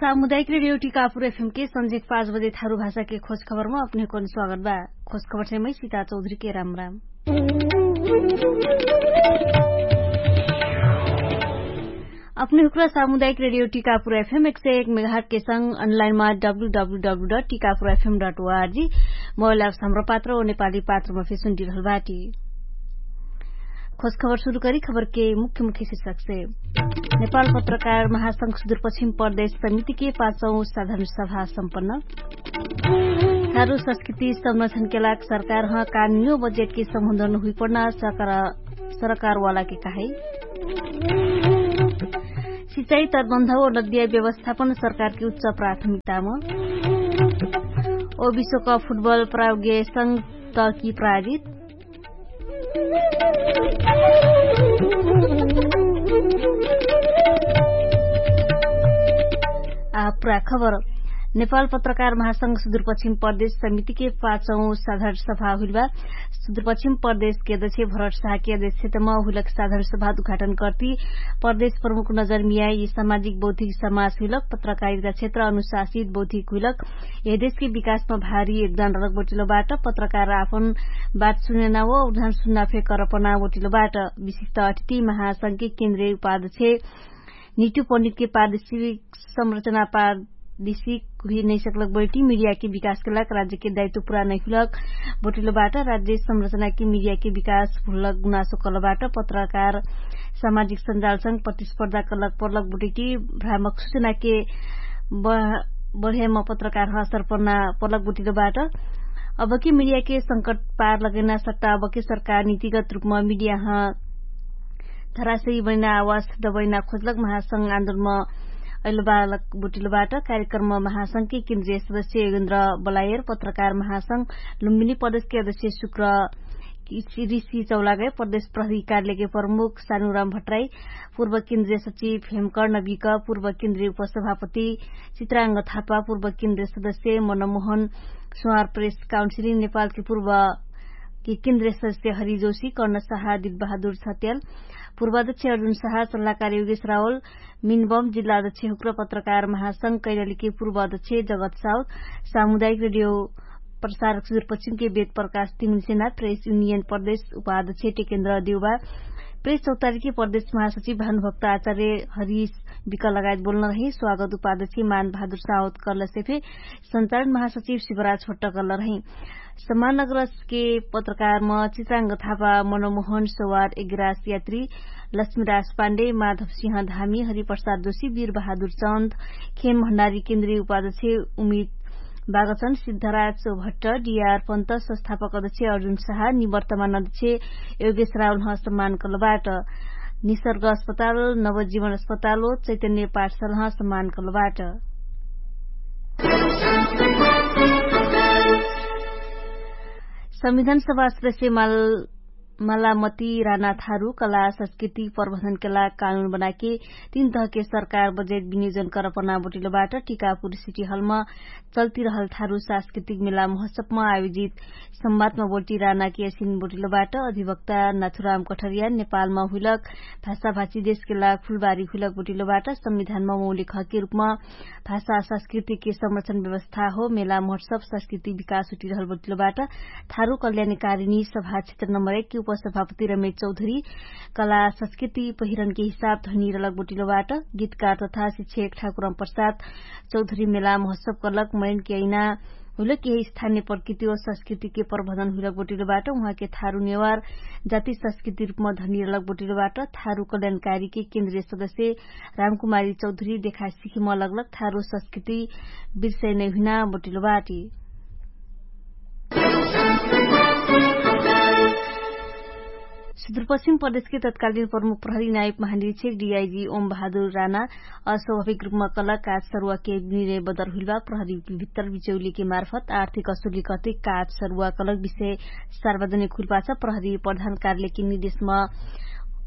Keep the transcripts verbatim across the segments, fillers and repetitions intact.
सामुदायिक रेडियो टिकापुर एफएम के संझेक पाँच बजे थारु भाषा के खोज खबरमा अपने हुकन स्वागत बा। खोज खबर से मै सीता चौधरी के राम राम। अपने हुक्रा सामुदायिक रेडियो टिकापुर एफएम एक सय एक मेघाट के संग अनलाइनमा W W W dot Tikapur FM dot ORG mobile apps Hamro पात्र ओ नेपाली पात्रमा फेसुन डिरहल बाटी। खोज खबर सुरु करी खबर के मुख्य मुख्य शीर्षक से नेपाल पत्रकार महासंघ सुदूरपश्चिम प्रदेश समिति के पाँचौ साधारण सभा सम्पन्न। थारु संस्कृति संरक्षण के लाग सरकार ह कानुनियो बजेट के सम्बन्धन हुइपडना सरकार सरकारवाला के कहे। सिचाई तटबन्ध ओ नदिया व्यवस्थापन सरकार के उच्च प्राथमिकतामा। ओ विश्वकप फुटबल प्रायोग्य संग तकी प्रायोजित। आ पुरा खबर। नेपाल पत्रकार महासंघ सुदूरपश्चिम प्रदेश समिति के पाँचौ साधारण सभा हुइल बा। सुदूरपश्चिम प्रदेश के अध्यक्ष भरत साह के अध्यक्षतमा हुइलक साधारण सभा उद्घाटन कर्ती प्रदेश प्रमुख नजर मिया यि सामाजिक बौद्धिक समाज हुइलक पत्रकारिता क्षेत्र अनुशासित बौद्धिक हुइलक यहि देशके विकासमा भारी योगदान रलक बोटिलो बाट पत्रकार आपन बात सुनेना व उदान सुन्ना फे करपना बोटिलो बाट। विशिष्ट अतिथि महासंघ के केन्द्रीय उपाध्यक्ष निटु पण्डित के पारदर्शिक संरचना पारदर्शिक हुइ नैसकलक बैठी मिडिया के विकास के लाग राज्य के दायित्व पुरा नैहुलक बोटिलो बाट। राज्य संरचना के मिडिया के विकास हुलक गुनासो कल बाट पत्रकार सामाजिक सञ्जालसँग प्रतिस्पर्धा कलक पर्लक बोटिटी भ्रामक सूचना के बढेम पत्रकार ह असर पर्ना पर्लक बोटिलो बाट। अबके मिडिया के संकट पार लगैना सट्टा अबके सरकार नीतिगत रूपमा मिडिया ह धराशयी बनिना आवास दबैना खोजलक महासंघ आन्दोलनमा अइलबालक बोटिलो बाट। कार्यक्रममा महासंघ के केन्द्रीय सदस्य योगेन्द्र बलायर पत्रकार महासंघ लुम्बिनी प्रदेश के अध्यक्ष शुक्र ऋषि चौलागय प्रदेश प्रहरी कार्यालय के प्रमुख सानुराम भट्टराई, पूर्व केन्द्रीय सचिव हेमकर्ण विक, पूर्व केन्द्रीय उपसभापति चित्राङ्ग थापा, पूर्व केन्द्रीय सदस्य मनमोहन स्वार प्रेस काउन्सिलिङ नेपालके पूर्व के केन्द्रीय सदस्य हरि जोशी, कर्ण साहा, दिलबहादुर छत्याल, पूर्वाध्यक्ष अर्जुन साहा, सल्लाहकार योगेश रावल, मिनबम जिल्ला अध्यक्ष हुक्र पत्रकार महासंघ कैलालीके पूर्वाध्यक्ष जगत साउथ, सामुदायिक रेडियो प्रसारक सुदूरपश्चिमके वेद प्रकाश तिमुनसेना, प्रेस युनियन प्रदेश उपाध्यक्ष टेकेन्द्र देउबा, प्रेस चौतारीके प्रदेश महासचिव भानुभक्त आचार्य हरिश विक लगायत बोल्न रहे। स्वागत उपाध्यक्ष मान बहादुर साउथ कर्लसे फे सञ्चालन महासचिव शिवराज भट्ट कर्ल रहे। सम्मान अग्रजके पत्रकारम चित्राङ्ग थापा, मनमोहन सवार, एग्रास यात्री, लक्ष्मीराज पाण्डे, माधव सिंह धामी, हरिप्रसाद जोशी, वीर बहादुर चन्द, खेम भण्डारी, केन्द्रीय उपाध्यक्ष उमित बागचन, सिद्धराज भट्ट, डिआर पन्त, संस्थापक अध्यक्ष अर्जुन साहा, निवर्तमान अध्यक्ष योगेश रावलह सम्मान कलबाट। निसर्ग अस्पताल, नवजीवन अस्पताल ओ चैतन्य पाठशालह सम्मान कलबाट। संविधान सभा सदस्य माल मलामती राना थारु कला संस्कृति प्रबन्धन केला कानुन बनाके तीन तहके सरकार बजेट विनियोजन करपना बोटिलोबाट टिकापुर सिटी हलमा चल्तिरहल थारु सांस्कृतिक मेला महोत्सवमा आयोजित संवादमा बोल्टी रानाके असिन बोटिलोबाट अधिवक्ता नाथुराम कठरिया नेपालमा हुइलक भाषाभाषी देशकेला फुलबारी हुइलक बोटिलोबाट संविधानमा मौलिक हके रूपमा भाषा संस्कृतिके संरक्षण व्यवस्था हो मेला महोत्सव संस्कृति विकास हुटिरहल बोटिलोबाट थारु कल्याणकारी नि सभा क्षेत्र नम्बर एक के उपसभापति रमेश चौधरी कला संस्कृति पहिरनके हिसाब धनी रलक बोटिलोबाट गीतकार तथा शिक्षक ठाकुरम प्रसाद चौधरी मेला महोत्सव कलक मैनके अइना हुइलक यहि स्थानिय प्रकृति ओ संस्कृतिके प्रबन्धन हुइलक बोटिलोबाट उहाँके थारु नेवार जाति संस्कृति रूपमा धनी रलक बोटिलोबाट थारु कल्याणकारीके केन्द्रीय सदस्य रामकुमारी चौधरी देखा सिखिम लगलक थारु संस्कृति बिर्सै नै हुइना बोटिलोबाट। सुदूरपश्चिम प्रदेशके तत्कालीन प्रमुख प्रहरी नायक महानिरीक्षक डिआइजी ओम बहादुर राना अस्वाभाविक रूपमा कलक काज सरुवाके निर्णय बदर हुइलबा प्रहरी भित्तर बिचौलीके मार्फत आर्थिक असुली कते काज सरुवा कलक विषय सार्वजनिक हुइलबाछ। प्रहरी प्रधान कार्यालयके निर्देशमा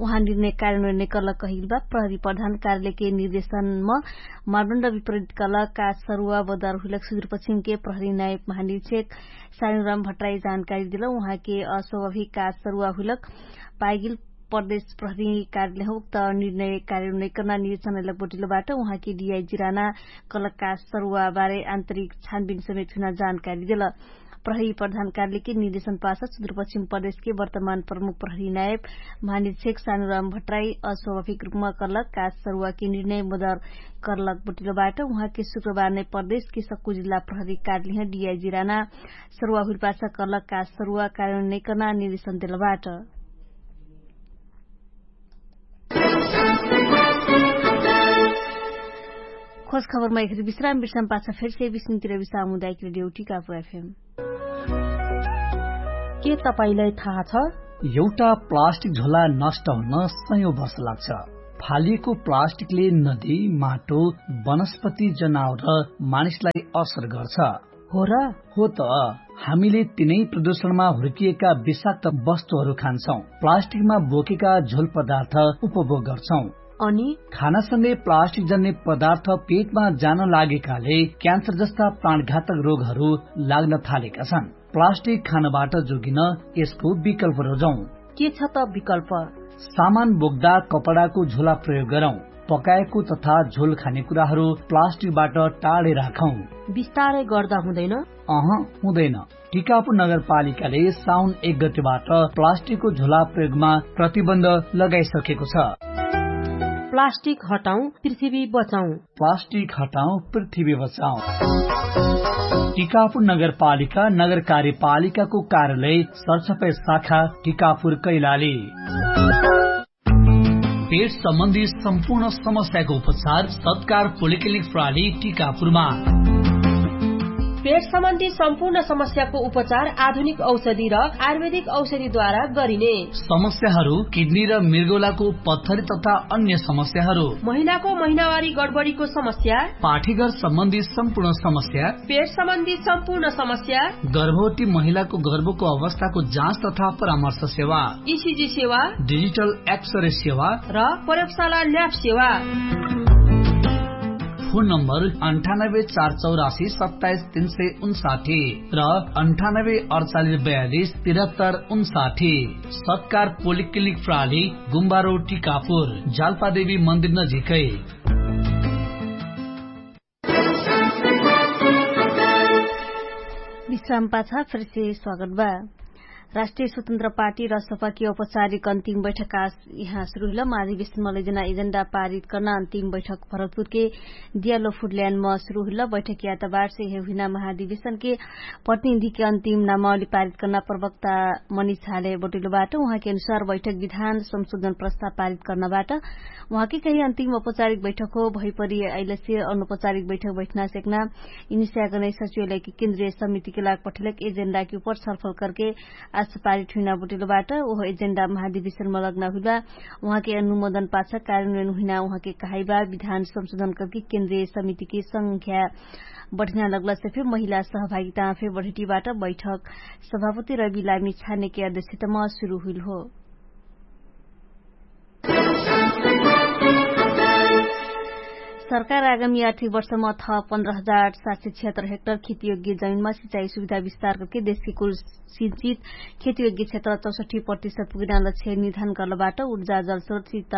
उहाँ निर्णय कार्यान्वयन कलक कहिलबा। प्रहरी प्रधान कार्यालयके निर्देशनमा मापदण्ड विपरीत कलक काज सरुवा बदर हुइलक सुदूरपश्चिमके प्रहरी नायक महानिरीक्षक सानुराम भट्टराई जानकारी दिल। उहाँके अस्वाभाविक काज सरुवा हुइलक पाइगिल प्रदेश प्रहरी कार्यालय उक्त निर्णय कार्यान्वयन नैकर्ना निर्देशन लगबोटिलो बाट उहाँके डिआइजी राना कलकका सरुवा बारे आन्तरिक छानबिन समेत हुना जानकारी देल। प्रहरी प्रधान कार्यालयके निर्देशन पास सुदूरपश्चिम प्रदेशके वर्तमान प्रमुख प्रहरी नायब महानिरीक्षक सानुराम भट्टराई अस्वाभाविक रूपमा कलकका सरुवाके निर्णय मदर करलक बोटिलो बाट उहाँके शुक्रबार नै प्रदेशके सक्कु जिल्ला प्रहरी कार्यालय डिआइजी राना सरुवा हुइलपासा कलकका सरुवा कार्यान्वयन नैकर्ना निर्देशन देल बाट। खोज खबरमा एखरी विश्राम विश्राम पाछा फेरसे विश्रामतिर विश्राम हुँदा एखरी ड्युटी कापु एफएम। के तपाईंलाई थाहा छ? एउटा प्लास्टिक झोला नष्ट हुन सयौं वर्ष लाग्छ। फालिएको प्लास्टिकले नदी, माटो, वनस्पति, जनावर र मानिसलाई असर गर्छ। हो र? हो त। हामीले तिनै प्रदूषणमा हुर्किएका विषाक्त वस्तुहरू खान्छौं, प्लास्टिकमा बोकेका झोल पदार्थ उपभोग गर्छौं। अनि खानासँगै प्लास्टिक जन्ने पदार्थ पेटमा जान लागेकाले क्यान्सर जस्ता प्राणघातक रोगहरू लाग्न थालेका छन्। प्लास्टिक खानबाट जोगिन यसको विकल्प रोजौं। के छ त विकल्प? सामान बोक्दा कपडाको झोला प्रयोग गरौं। पकाएको तथा झोल खाने कुराहरू प्लास्टिकबाट टाढे राखौं। बिस्तारै गर्दा हुँदैन? अह, हुँदैन। टिकापुर नगरपालिकाले साउन एक गतिबाट प्लास्टिकको झोला प्रयोगमा प्रतिबन्ध लगाइसकेको छ। प्लास्टिक हटाउँ, पृथ्वी बचाउँ। प्लास्टिक हटाउँ, पृथ्वी बचाउँ। टिकापुर नगरपालिका नगर कार्यपालिकाको कार्यालय सरसफाइ शाखा टिकापुर कैलाली। पेट सम्बन्धी सम्पूर्ण समस्याको उपचार सत्कार पोलिक्लिनिक प्रणाली टिकापुरमा। पेट सम्बन्धी सम्पूर्ण समस्याको उपचार आधुनिक औषधि र आयुर्वेदिक औषधिद्वारा गरिने। समस्याहरू किडनी र मृगौलाको पत्थरी तथा अन्य समस्याहरू, महिलाको महिनावारी गडबडीको समस्या, पाठीघर सम्बन्धी सम्पूर्ण समस्या, पेट सम्बन्धी सम्पूर्ण समस्या, गर्भवती महिलाको गर्भको अवस्थाको जाँच तथा परामर्श सेवा, इसिजी सेवा, डिजिटल एक्सरे सेवा र प्रयोगशाला ल्याब सेवा। फोन नम्बर अन्ठानब्बे चार चौरासी सत्ताइस तीन सय उन्साठी र अन्ठानब्बे अडचालिस बयालिस तिरहत्तर उन्साठी। सत्कार पोलिक्लिनिक प्रणाली, गुम्बारो टिकापुर, जालपादेवी मन्दिर नजिकै। विश्राम पाछा फेरसे स्वागत बा। राष्ट्रिय स्वतन्त्र पार्टी र सपाकी औपचारिक अन्तिम बैठक आज यहाँ सुरु हुइल। महाधिवेशनम लैजना एजेन्डा पारित कर्ना अन्तिम बैठक भरतपुरके दियालो फुडल्यान्डम सुरु हुइल। बैठक यातबारसे हे हुइना महाधिवेशनके प्रतिनिधिके अन्तिम नामावली पारित कर्ना प्रवक्ता मनिष झाले बटुइलो बाट। उहाँके अनुसार बैठक विधान संशोधन प्रस्ताव पारित कर्ना बाट। उहाँके कही अन्तिम औपचारिक बैठक हो भइपरि अइलसे अनौपचारिक बैठक बैठना सेक्ना इनिस्याकनै सचिवलयके केन्द्रिय समितिके लाग पठेलक एजेन्डाके उपर छलफल करके आस पारित हुइना बटुइलो बाट। ओह एजेन्डा महाधिवेशनम लग्ना हुइबा। उहाँके अनुमोदन पाछ कार्यान्वयन हुइना उहाँके कहाइबा। विधान संशोधन करके केन्द्रिय समितिके संख्या बढिना लग्लसे फे महिला सहभागितामा फे बढिटी बाट। बैठक सभापति रवि लामी छानेके अध्यक्षतम सुरु हुइल हो। सरकार आगामी आर्थिक वर्षम अथ पन्ध्र हजार सात सय छिहत्तर हेक्टर खेतीयोग्य जमिनमा सिचाइ सुविधा विस्तार करके देशके कुल सिचित खेतीयोग्य क्षेत्र चौसठी प्रतिशत पुगिना लक्ष्य निर्धारण गर्लबाट। उर्जा जलस्रोत सित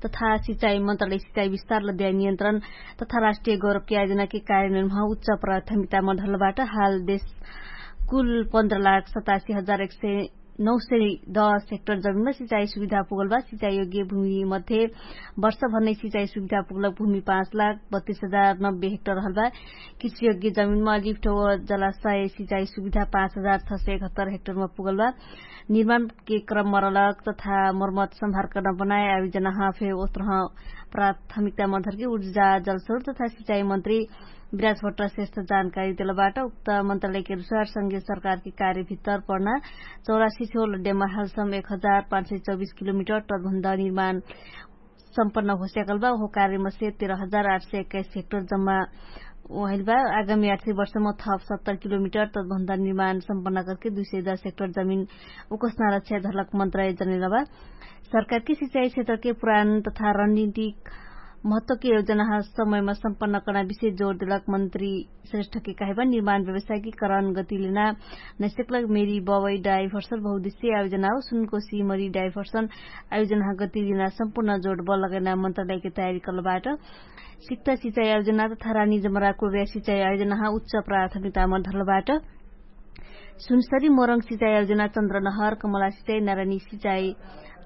तथा सिचाइ मन्त्रालय सिचाइ विस्तार लद्याइ नियन्त्रण तथा राष्ट्रिय गौरवके आयोजनाके कार्यान्वयनमा उच्च प्राथमिकतामा ढल्लबाट। हाल देश कुल पन्ध्र लाख सतासी हजार एक सय नौ सय दस हेक्टर जमिनमा सिचाइ सुविधा पुगलबा। सिचाइ योग्य भूमिमध्ये वर्षभर नै सिचाइ सुविधा पुगलक भूमि पाँच लाख बत्तीस हजार नब्बे हेक्टर हलबा। कृषियोग्य जमिनमा लिफ्ट हो जलाशय सिचाइ सुविधा पाँच हजार छ सय एकहत्तर हेक्टरमा पुगलबा। निर्माणके क्रम मरलक तथा मर्मत सम्भार कर्ना बनाए आयोजना हफे ओत्रह प्राथमिकता मधरके उर्जा जलस्रोत तथा सिचाइ मन्त्री विराज भट्ट श्रेष्ठ जानकारी देलबाट। उक्त मन्त्रालयके अनुसार संघीय सरकारके कार्यभित्तर पर्ना चौरासी छोल डेमा हालसम एक हजार पाँच सय चौबिस किलोमिटर तटभन्दा निर्माण सम्पन्न होस्याकलबा। ओहो कार्यमसे तेर हजार आठ सय एक्काइस हेक्टर जम्मा ओहलबा। आगामी आठ सय वर्षमा थप सत्तर किलोमिटर तटभन्दा निर्माण सम्पन्न करके दुई सय दस हेक्टर जमिन उकस्ना रक्षा धरलक मन्त्रालय जनेलबा। सरकारके सिचाइ क्षेत्रके पुरान तथा रणनीतिक महत्वके आयोजनाहा समयमा सम्पन्न कर्ना विषय जोर देलक मन्त्री श्रेष्ठके काहेबा निर्माण व्यवसायकी करण गतिलेना नैसकलक मेरी बवै डाइभर्सन बहुदिश्य आयोजनाहो सुनको सिमरी डाइभर्सन आयोजनाहा गतिलेना सम्पूर्ण जोर बल लगैना मन्त्रालयके तयारी कलबाट। सिक्ता सिचाइ आयोजना तथा रानी जमराको व्या सिचाइ आयोजनाहा उच्च प्राथमिकतामा धरलबाट। सुनसरी मोरङ सिचाइ आयोजना चन्द्रनहर कमला सिचाइ नारानी सिचाइ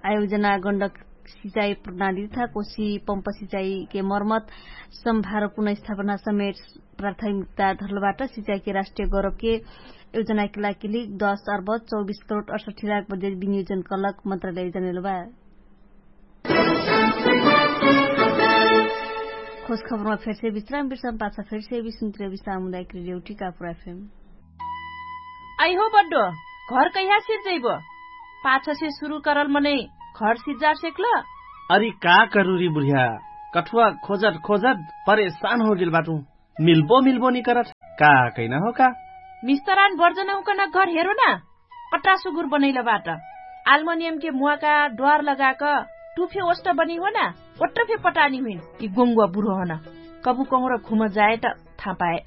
आयोजना गण्डक सिचाइ प्रणाली तथा कोशी पम्प सिचाइके मर्मत सम्भार पुनर्स्थापना समेट प्राथमिकता धरलबाट। सिचाइके राष्ट्रिय गौरवके आयोजनाके लागिली दस अर्ब चौबिस करोड अठसट्ठी लाख बजेट विनियोजन कलक मन्त्रालय जनेलबा। खोज खबरमा फेरसे विश्राम विश्राम पाछा फेरसे विश्राम सामुदायिक रेडियो टिकापुर एफएम। आइहो बड्डो, घर कैहा सिज्जैबो? पाछसे सुरु करल मनै घर सिज्जार सेक्ल। अरि का करुरी बुढिया, कठुवा खोजत खोजत परेशान होगेल बाटु। मिल्बो मिल्बो निकरत का कैना हो का? मिस्तरान बर्जन हुकन घर हेरो ना। अट्रा सुगुर बनैल बाट। आल्मोनियमके मुवाका ड्वार लगाक टुफे ओष्ट बनी हो ना। ओट्रफे पटानी हुइन। यि गोङ्गुवा बुढो हन। कबु कहुँर घुम जाए त थापाए।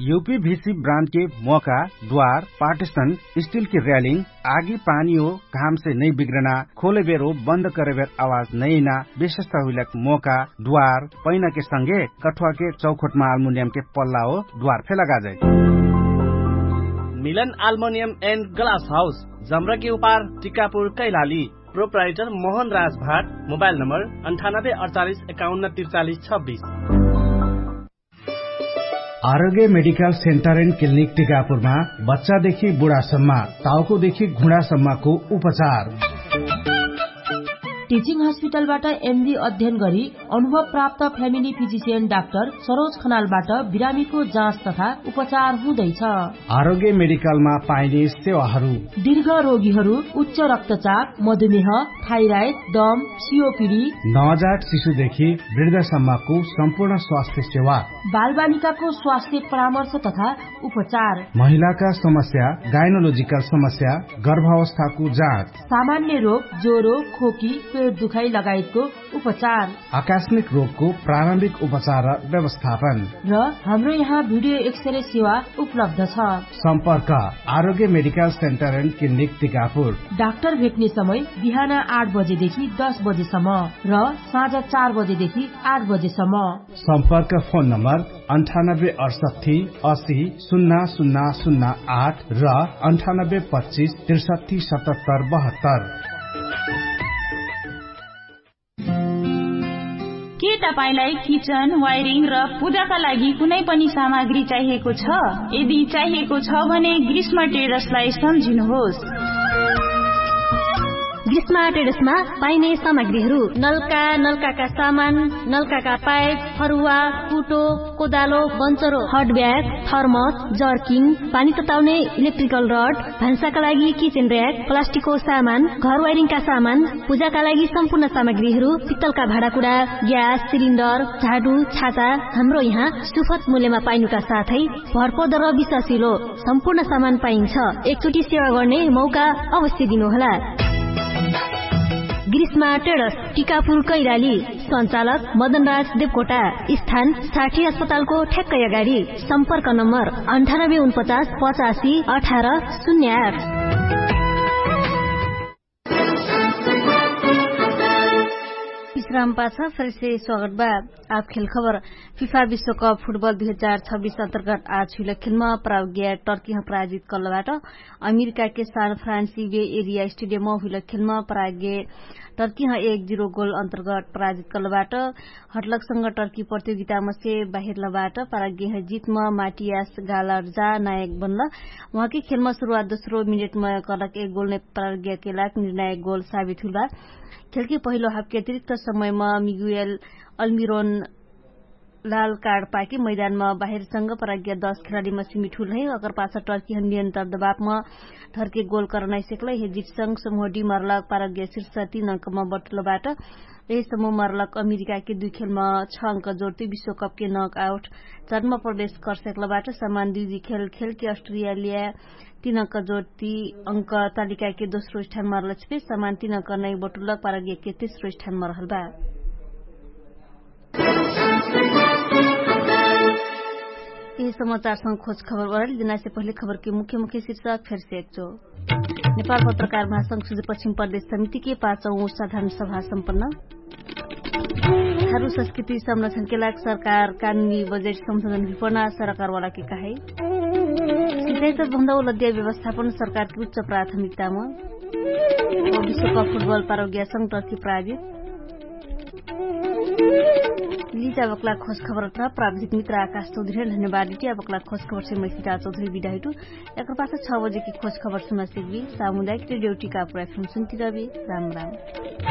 युपी भिसी ब्रान्डके मोका ड्वार पार्टिसन स्टिलके र्यालिङ आगी पानी हो घामसे नै बिग्रना खोलेबेर हो बन्द करेबेर आवाज नैना विशेषता हुइलक मोका ड्वार पैनाके संगे कठुवाके चौखोटमा आल्मुनियमके पल्ला हो ड्वार फेला गाजै। मिलन आल्मुनियम एन्ड ग्लास हाउस जम्रके उपार टिकापुर कैलाली। प्रोप्राइटर मोहन राज भाट। मोबाइल नम्बर अन्ठानब्बे अडचालिस एकाउन्न त्रिचालिस छब्बिस। आरोग्य मेडिकल सेन्टर एन्ड क्लिनिक टिकापुरमा बच्चादेखि बुढासम्म, टाउकोदेखि घुँडासम्मको उपचार। टिचिङ हस्पिटलबाट एमडी अध्ययन गरी अनुभव प्राप्त फ्यामिली फिजिसियन डाक्टर सरोज खनालबाट बिरामीको जाँच तथा उपचार हुँदैछ। आरोग्य मेडिकलमा पाइने सेवाहरू। दीर्घ रोगीहरू उच्च रक्तचाप, मधुमेह, थाइराइड, दम, सिओपिडी, नवजात शिशुदेखि वृद्धसम्मको सम्पूर्ण स्वास्थ्य सेवा। बालबालिकाको स्वास्थ्य परामर्श तथा उपचार। महिलाका समस्या, गाइनोलोजिकल समस्या, गर्भावस्थाको जाँच। सामान्य रोग, ज्वरो, खोकी, पेट दुखाइ लगायतको उपचार। आकस्मिक रोगको प्रारम्भिक उपचार र व्यवस्थापन। र हाम्रो यहाँ भिडियो एक्सरे सेवा उपलब्ध छ। सम्पर्क Arogya medical centre and clinic Tikapur. Doctor भेट्ने समय बिहान आठ बजेदेखि दस बजेसम्म र साँझ चार बजेदेखि आठ बजेसम्म। सम्पर्क फोन नम्बर अन्ठानब्बे अडसट्ठी असी सुन्ना सुन्ना सुन्ना आठ र अन्ठानब्बे पच्चिस त्रिसट्ठी सतहत्तर बहत्तर। के तपाईंलाई किचन वायरिङ र पूजाका लागि कुनै पनि सामग्री चाहिएको छ? यदि चाहिएको छ भने ग्रीष्म ट्रेडर्सलाई सम्झिनुहोस्। ग्रीष्म ट्रेडर्समा पाइने सामग्रीहरू नलका, नलकाका सामान, नलकाका पाइप, फरुवा, कुटो, कोदालो, बन्चरो, हटब्याग, थर्मस, जर्किङ, पानी तताउने इलेक्ट्रिकल रड, भान्साका लागि किचेन र्‍याक, प्लास्टिकको सामान, घर वायरिङका सामान, पूजाका लागि सम्पूर्ण सामग्रीहरू, पित्तलका भाँडाकुँडा, ग्यास सिलिन्डर, झाडु, छाता, हाम्रो यहाँ सुपथ मूल्यमा पाइनुका साथै भरपर्दो र विश्वासिलो सम्पूर्ण सामान पाइन्छ। एकचोटि सेवा गर्ने मौका अवश्य दिनुहोला। ग्रीष्मा ट्रेडर्स, टिकापुर कैराली। सञ्चालक मदनराज देवकोटा। स्थान साठी अस्पतालको ठ्याक्कै अगाडि। सम्पर्क नम्बर अन्ठानब्बे उनपचास पचासी अठार शून्य आठ। विश्राम पाछा फेरसे स्वागत बा। आप खेल खबर। फिफा विश्वकप फुटबल दुई हजार छब्बिस अन्तर्गत आज हुइल खेलमा प्रावज्ञा टर्कीह पराजित कल्लबाट। अमेरिकाके सान फ्रान्सी बे एरिया स्टेडियममा हुइल खेलमा पराग्य टर्कीह एक जिरो गोल अन्तर्गत पराजित कल्लबाट। हटलकसँग टर्की प्रतियोगितामसे बाहिरलबाट पराग्यह जितमा माटियास गालर्जा नायक बनल। उहाँके खेलमा सुरुवात दोस्रो मिनेटमा कलक एक गोल नै पराग्यके लाग निर्णायक गोल साबित हुइलबा। खेलके पहिलो हापके अतिरिक्त समयमा मिगुएल अल्मिरोन लाल कार्ड पाके मैदानमा बाहिरसँग पराग्या दस खेलाडीमा सिमिट हुलहै। अकर पाछा टर्कीह नियन्त्रण दबापमा धरके गोल करनाइसेक्लै। हे जितसँग समूह डी मरलक पराग्या शिर्ष तीन अङ्कमा बटुलबाट। यही समूह मरलक अमेरिकाके दुइ खेलमा छ अङ्क जोर्ती विश्वकपके नक आउट चर्म प्रवेश करसेक्लबाट। समान दुइ दुइ खेल खेलके अस्ट्रेलिया तीन अङ्क जोर्ती अङ्क तालिकाके दोस्रो स्थानमा रहलछपे। समान तीन अङ्क नै बटुलक पराग्याके तेस्रो स्थानमा रहलबा। समाचारसँग खोज खबर ओराइल दिनासे पहिले खबरके मुख्य मुख्य शिर्षक फेरसे एक्चो। नेपाल पत्रकार महासंघ सुझे पश्चिम प्रदेश समितिके पाँचौ साधारण सभा सम्पन्न। थारु संस्कृति संरक्षणके लाग सरकार कानुनी बजेट संशोधन भिपना सरकारवालाके कहे। सिँचाइ त भन्दा उलद्या व्यवस्थापन सरकारके उच्च प्राथमिकतामा। विश्वकप फुटबल पारोग्या संगतर्की प्रायोजित। लिजा बक्ला खोज खबर अथवा प्राविधिक मित्र आकाश चौधरी धन्यवाद इटिया बक्ला खोज खबर से मैसिता चौधरी बिदाहिटु। एकर पाछा छ बजेकी खोज खबर सुना सिकबी। सामुदायिक रेडियो टिका पुरा सुनसुनती रहबी। राम राम।